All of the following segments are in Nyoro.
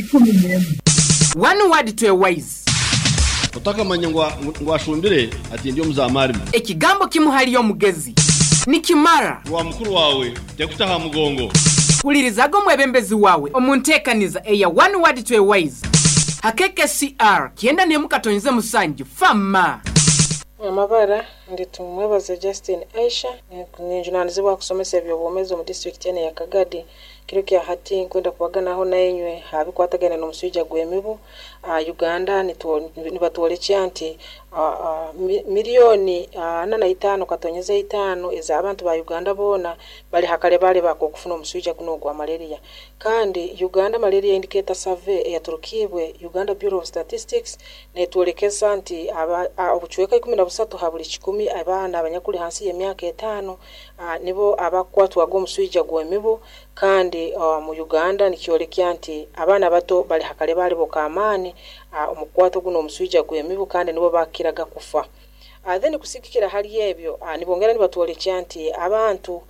11. One word to a wise. Otakamanya ngu ashumbire ati ndi omuzamarime. Ekigambo kimu hali omugezi nikimara. Rwa mukuru wawe tekuta ha mugongo. Hulirizaga omwebembezi wawe omu nteekaniza eya One Word to a Wise ha KKCR 91.7 Fama. Amabara ndi Tumwebaze Justin Aisha, ninjunanizibwa kusomesa eby'obwomeezi omu disitulikiti enu eya Kagadi. Kiro kya hati nkwenda kubaganaho nainywe ha bikwatagaine n'omuswija gw'emibu. Uganda nibatwolekya nti miliyoni 45.5 ez'abantu ba Uganda boona bali ha kalebale bak'okufuna omuswija gunu ogwa malaria. Kandi Uganda Malaria Indicator Survey eyaturukibwe Uganda Bureau of Statistics netwolekesa nti obucweka 13 ha buli kikumi abaana abanyakuli hansi y'emyaka 5 nibo abakukwatwaga omuswija gw'emibu. Kandi mu Uganda nikyolekya nti abaana bato bali ha kalebale k'amaani omu kukwata guno omuswija gw'emibu, kandi nibo bakiraga kufa. Then kusigikira hali ebyo, nibongera nibatwolekya nti abantu,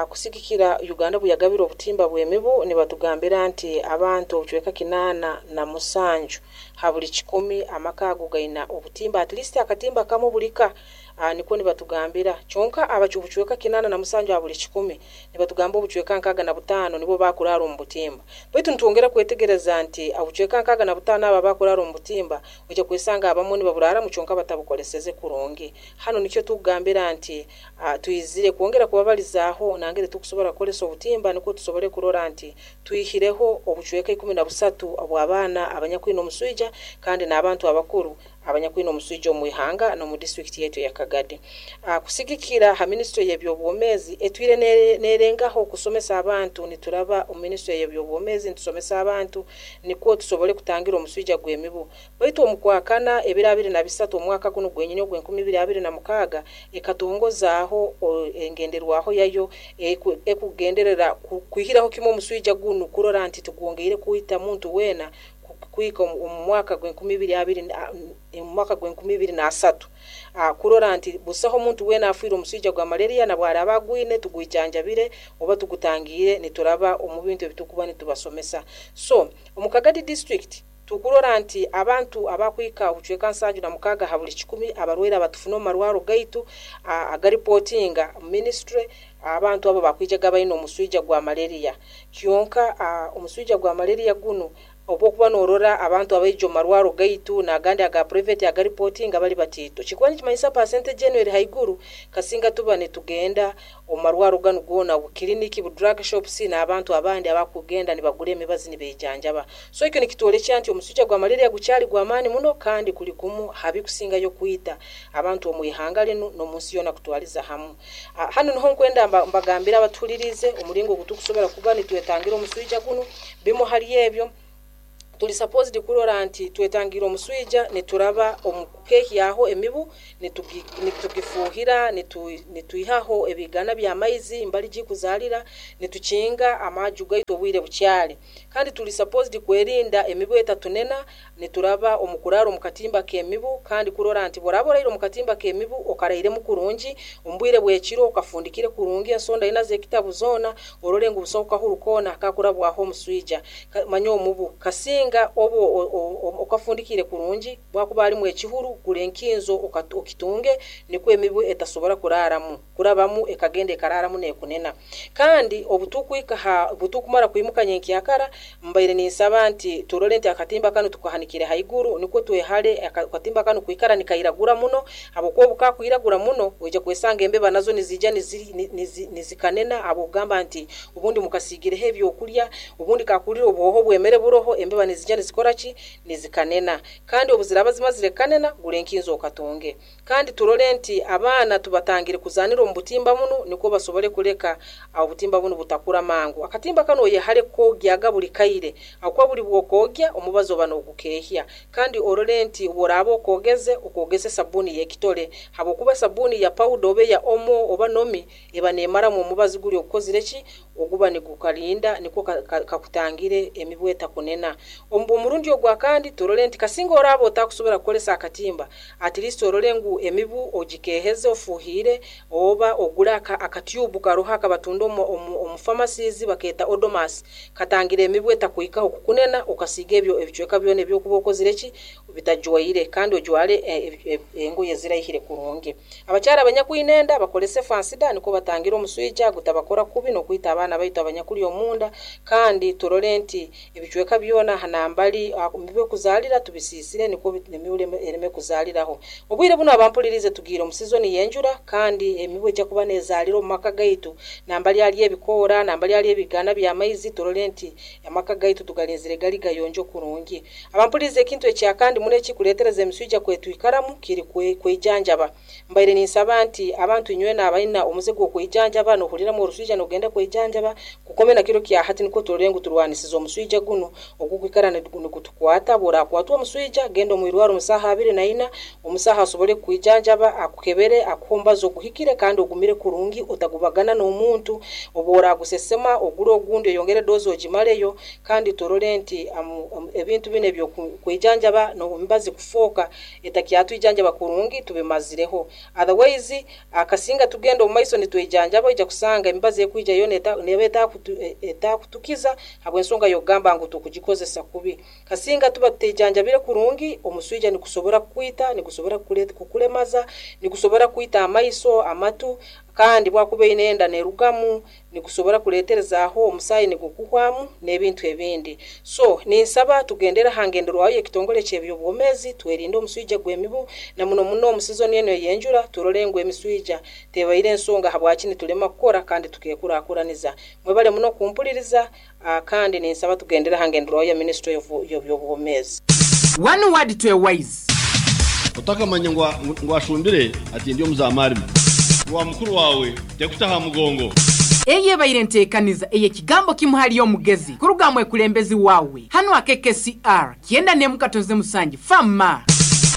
kusigikira Uganda bweyagabira obutimba bw'emibu, nibatugambira nti abantu obucweka 87 ha buli kikumi amaka ago gaina obutimba, at least akatimba kamu bulika. Nikwo nibatugambira. Kyonka obucweka 87 ha buli kikumi nibatugamba obucweka 65 nibo bakurara omu butimba. Baitu nitwongera kwetegereza nti obucweka 65 aba bakurara omu butimba, ojja kwesanga abamu nibaburaramu kyonka batabukoleseze kurungi. Hano nikyo tukugambira nti twizire kwongera kubabalizaaho nangeri tukusobora kukolesa obutimba, nikwo tusobole kurora nti twihireho obucweka 13 obw'abaana abanyakwine omuswija kandi n'abantu abakuru abanyakwine omuswija omu ihanga n'omu disitulikiti yaitu eya Kagadi. Kusigikira ha minisitule y'ebyobwomeezi etwire nerengaho kusomesa abantu, nituraba omu minisitule y'ebyobwomeezi nitusomesa abantu nikwo tusobole kutangira omuswija gw'emibu. Baitu omu kwakana ebiro 23 omwaka guno gwenyini ogw'enkumi ibiri abiri na mukaaga ekatongozaaho engenderwaho yayo ekugenderera kwihiraho kimwe omuswija gunu, kurora nti tugwongeire kwita muntu weena kuhika omu mwaka gw'enkumi ibiri abiri, omu mwaka gw'enkumi ibiri n'asatu, kurora nti busaho omuntu weena afiire omuswija gwa malaria, na bwaraaba agwine tugwijanjabire oba tugutangiire nituraba omu bintu ebitukuba nitubasomesa. So omu Kagadi district tukurora nti abantu abakwika obucweka 76 ha buli kikumi abarwaire abatufuna omu marwaro gaitu agaripotinga ministry, abantu abo bakwijaga baine omuswija gwa malaria. Kyonka omuswija gwa malaria gunu obwokuba norora abantu abaija omu marwaro gaitu n'agandi aga private agaripotinga bali batiito, kikuba nikimanyisa percentage enu eri haiguru kasinga tuba nitugenda omu marwaro ganu goona, bukiriniki, bu drug shops n'abantu abandi abakugenda nibagura emibazi nibeijanjaba. So ekyo nikitwolekya nti omuswija gwa malaria gukyali gw'amaani muno, kandi kuli gumu habikusingayo kwita abantu omu ihanga linu n'omu nsi yoona kutwaliza hamu. Hanu niho nkwenda mbagambira abatuhulirize omuringo ogu tukusobora kuba nitwetangira omuswija gunu. Bimu hali ebyo, tuli supposed kurora nti twetangira omuswija nituraba omu kukehyaho emibu, nitugifuuhira, nitwihaho ebigana by'amaizi mbali gikuzaalira, nitukinga amaju gaitu obwire bukyali. Kandi tuli supposed kwerinda emibu etatunena nituraba omu kurara omu katimba k'emibu, kandi kurora nti bworaba oraire omu katimba k'emibu okarairemu kurungi omu bwire bw'ekiro, okafundikire kurungi ensonda ina z'ekitabu zoona, orole ngu busaho kahuru koona kakurabwaho omuswija manya omubu kasinga obu okafundikire kurungi, bwakuba harimu ekihuru gura enkinzo okitunge, nikwo emibu etasobora kuraramu kurabamu ekagenda ekararamu nekunena. Kandi obutukumara kwimuka nyenkyakara, mbaire ninsaba nti turole nti akatimba kanu tukahanikire haiguru, nikwo twehale akatimba kanu kwikara nikairagura muno, habwokuba obukakwiragura muno oija kwesanga embeba nazo nizija nizikanena, habwokugamba nti obundi mukasiigireho ebyokulya, obundi kakulire obuhoho bwemere buroho, embeba nizija nizikora ki, nizikanena. Kandi obuziraba zimazire kanena, gura enkinzo okatunge. Kandi turole nti abaana tubatangire kuzanira omu butimba bunu, nikwo basobole kuleka obutimba bunu butakura mangu. Akatimba kanu oyehale kukogyaga buli kaire, habwokuba buli bwokogya omubazi oba nogukehya. Kandi orole nti bworaba okogeze, okogeze sabuni y'ekitole, habwokuba sabuni ya powder oba eya omo oba nomi eba nemaramu omubazi guli ogukozire ki, oguba nigukalinda nikwo kakutangire emibu etakunena. Omurundi ogwakandi turole nti kasinga oraba otakusobora kukolesa akatimba, at least orole ngu emibu ogikeheze ofuhire oba ogule akatyubu karoho akabatunda omu pharmacies baketa Odomas, katangire emibu etakuhikaho kukunena, okasiga ebyo ebicweka byona ebyokuba okozire ki bitajwaire, kandi ojwale engoye ziraihire kurungi. Abakyara abanyakwine enda bakolese fansida nikwo batangire omuswija gutabakora kubi n'okwita abaana baitu abanyakuli omunda, kandi turole nti ebicweka byona hanambali emibu ekuzalira tubisisire nikwo emibu ereme kuzaliraho. Obwire buno abampulirize tugiire omu sizoni y'enjura, kandi emibu ejja kuba nezalira omu maka gaitu, nambali ali ebikoora, nambali ali ebigana by'amaizi, turole nti amaka gaitu tugalinzire gali gayonjo kurungi. Abampulirize ekintu ekyakandi muno ekikuleetereza emiswija kwetwikaramu kiri kwejanjaba. Mbaire ninsaba nti abantu inywena abaina omuze gw'okwejanjaba n'ohuriramu oruswija n'ogenda kwejanjaba, kukome na kiro kya hati nikwo turole ngu turwanisize omuswija guno ogukwikara nigutukwata. Bw'orakwatwa omuswija genda omu irwaro omu saaha 24, omusaha asobole kukwijanjaba, akukebere, akuhe omubazi oguhikire kandi ogumire kurungi, otagubagana n'omuntu. Obw'oragusesema ogure ogundi oyongere dozi ogimaleyo, kandi turole nti ebintu bino eby'okwejanjaba n'emibazi kufooka etakyatwijanjaba kurungi tubimazireho. Otherwise akasinga tugenda omu maiso nitwejanjaba, oija kusanga emibazi ekwija yoona neba etakutukiza habw'ensonga y'okugamba ngu tukugikozesa kubi. Kasinga tuba tutejanjabire kurungi, omuswija nigusobora kukwita, nigusobora kukulemaza, nigusobora kwita amaiso, amatu, kandi bwakuba eine enda nerugamu, nigusobora kuleeterezaaho omusaayi nigukuhwamu n'ebintu ebindi. So ninsaba tugendere ha ngenderwaho y'ekitongole ky'ebyobwomeezi, twerinde omuswija gw'emibu, na muno muno omu sizoni eno ey'enjura turole ngu emiswija tebaire ensonga habwaki nitulema kukora kandi tukekurakuraniza. Mwebale muno kumpuliriza, kandi ninsaba tugendere ha ngenderwaho ya ministry y'ebyobwomeezi. One word to a wise. Otakamanya ngu ashumbire ati ndi omuzamarime. Wa mukuru wawe tekutaha mugongo. Eye ebaire nteekaniza ey'ekigambo kimu hali omugezi kuruga mwekulembezi wawe hano akekesiR 97.7 fama.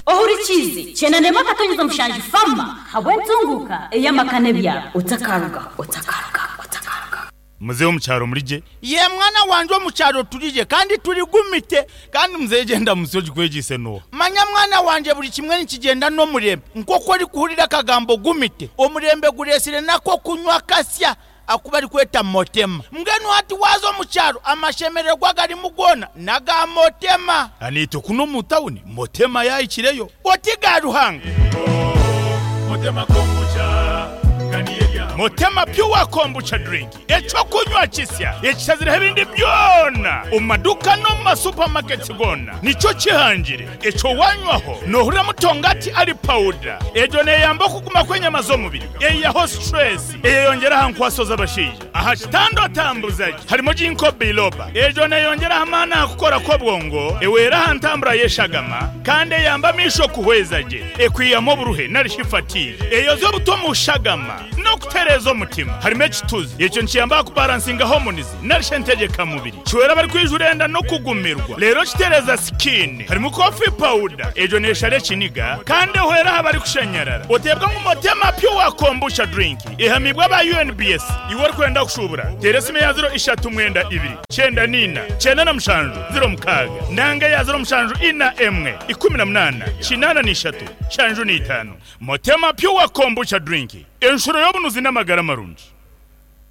Ohurikize 97.7 fama habw'entunguka ey'amakane byabo. Otakaruga, otakaruga, otakaruga. Muzeeyi omukyaro mulije. Ye mwana wanje omukyaro tulije kandi tuligumite. Kandi muzeeyi gyenda munsi ogikwegyeise n'oha? Manya mwana wanje buli kimwe nikigyenda n'omurembe. Nk'oku orikuhurira akagambo gumite, omurembe gureesire nako kunywa kasya aku barikweta motema. Mbwenu hati waaza omu kyaro amashemererwa agarimu goona n'aga motema. Aniitwe kunu omu tawuni motema yaahikireyo. Oti ga Ruhanga. Motema Pure Kombucha Drink, eky'okunywa kisya ekishazireho ebindi byona omu maduuka n'omu masupamaketi goona nikyo kihangire. Ekyo wanywaho noohurira mutongati ari pawuda. Egyo neeyamba okuguma kw'enyama z'omubiri, eihaho situresi, eyeyongyera aha nkwaso z'abashaija. Aha kitanda otambuza gye harimu Ginkgo biloba. Egyo neeyongyera aha maani aha kukora kw'obwongo, ehwera aha ntambura y'eshagama kandi eyamba amaisho kuhweza gye. Ekwihamu oburuhe nari shi fatigue. Eyozya obutwa omu shagama n'okutereeza omutima. Harimu ekituzi. Ekyo nikiyamba aha kubaransinga hormones nari shi entegyekamubiri. Kihwera abarikwijura enda n'okugumirwa reero kitereeza sikiini. Harimu coffee powder. Egyo neeshara ekiniga kandi ehwera aha barikushanyarara. Oteebwa ngu Motema Pure Kombucha Drink ehamiibwe aba UNBS. Iwe orikwenda kushuubura, teera esimu eya ziro ishatu mwenda ibiri, kyenda na ina, 97, 06 nanga eya ziro mushanju ina emwe, 18, 83, 75. Motema Pure Kombucha Drink, enshuro y'obunuzi n'amagara marungi.